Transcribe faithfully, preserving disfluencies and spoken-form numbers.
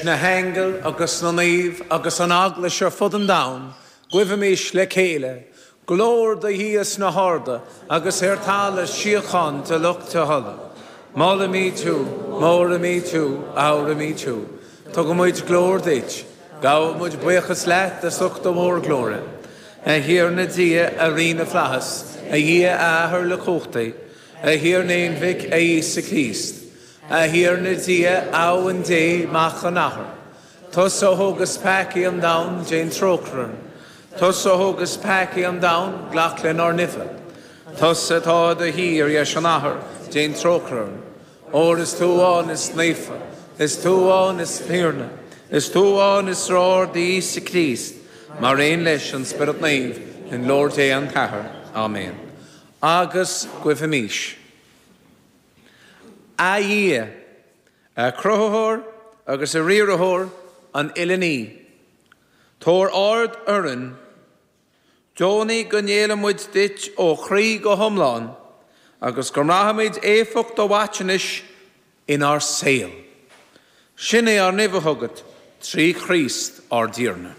Na haingil agus na naoimh agus an Eaglais ar fud an domhain, guímis le chéile, Glóir do Dhia sna harda agus ar talamh síocháin do lucht a thola. Molaimid thú, móraimid thú, adhraimid thú. Tugaimid glóir duit, gabhaimid buíochas leat as ucht do mhórghlóire. A Thiarna Dia, a Rí na bhFlaitheas, a Dhia a Athair uilechumhachtaigh, a Thiarna Aonmhic, a Íosa Críost. A Thiarna Dia, Abhainn Dé Mac an Athar. Tusa a thógas peacaí an domhain, déan trócaire orainn. Tusa a thógas peacaí an domhain, glac lenár n-uimhe. Tusa atá i do shuí ar dheis an Athar, déan trócaire orainn. Óir is tú amháin is naofa, is tú amháin is Tiarna, is tú amháin is ard Íosa Críost, mar aon leis an Spiorad Naomh i nglóir Dé an Tathair. Amen. Agus guímis. A Dhia, a chruthaitheoir agus a riarthóir an uile ní. Tabhair aird orainn, deonaigh go ngéillfimid duit ó chroí go hiomlán, agus go mbraithfimid éifeacht do mhaiteamhais inár saol. Sin é ár n-uimhe chugat trí Chríost ár dTiarna.